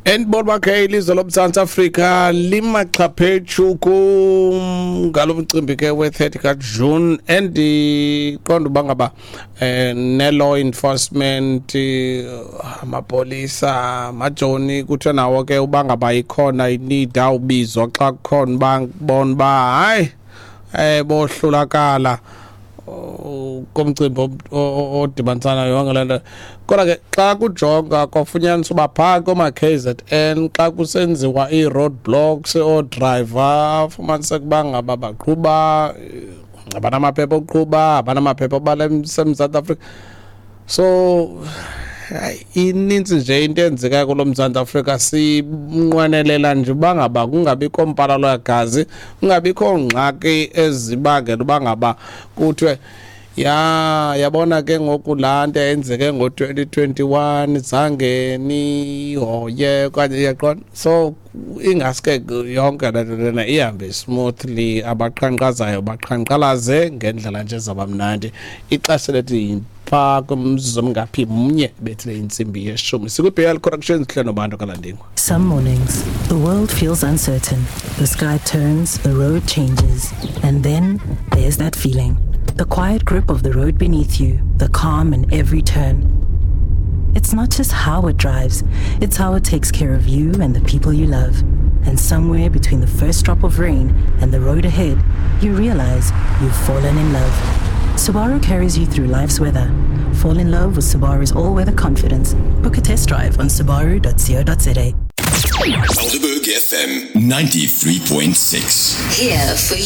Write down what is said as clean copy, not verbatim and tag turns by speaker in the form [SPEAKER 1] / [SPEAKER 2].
[SPEAKER 1] Endibona uba ke ilizwe loMzantsi Afrika limaxhaphetshu ngalo mcimbi ke we-30 kaJune, endiqonda uba ngaba ne-law enforcement, amapolisa, amajoni, kuthiwe nawo ke uba ngaba ikhona i-need, awubizwa xa kukhona uba bona uba hayi bohlulakala komcimbi odibanisana yonke le nto. Kodwa ke xa kujonga kwafunyaniswa uba phaa kooma-KZN xa kusenziwa ii-road blocks, oodrayiva fumaniseka uba ngaba baqhuba abanamaphepha okuqhuba, abanamaphepha obala seMzantsi Afrika. So hayi, inintsi nje into eyenzekayo kulo Mzantsi Afrika. Sinqwenelela nje uba ngaba kungabikho mpalalo yagazi, kungabikho ngxaki ezibangela uba ngaba kuthiwe ya yabona ke ngoku laa nto yenzeke ngo-2021 zange nihoye okanye, iyaqonda. So ingaske yonke le nto lena ihambe smoothly, abaqhankqazayo baqhankqalaze ngendlela nje zabamnandi. Ixesha lethi phaa kumzuzu omngaphi mnye bethile intsimbi yeshumi, sikwi-BL Corrections hle nobantu kalandingwa.
[SPEAKER 2] Some mornings, the world feels uncertain. The sky turns, the road changes, and then there's that feeling. The quiet grip of the road beneath you, the calm in every turn. It's not just how it drives, it's how it takes care of you and the people you love. And somewhere between the first drop of rain and the road ahead, you realize you've fallen in love. Subaru carries you through life's weather. Fall in love with Subaru's all-weather confidence. Book a test drive on subaru.co.za.
[SPEAKER 3] Helderberg FM 93.6.
[SPEAKER 4] Here for you.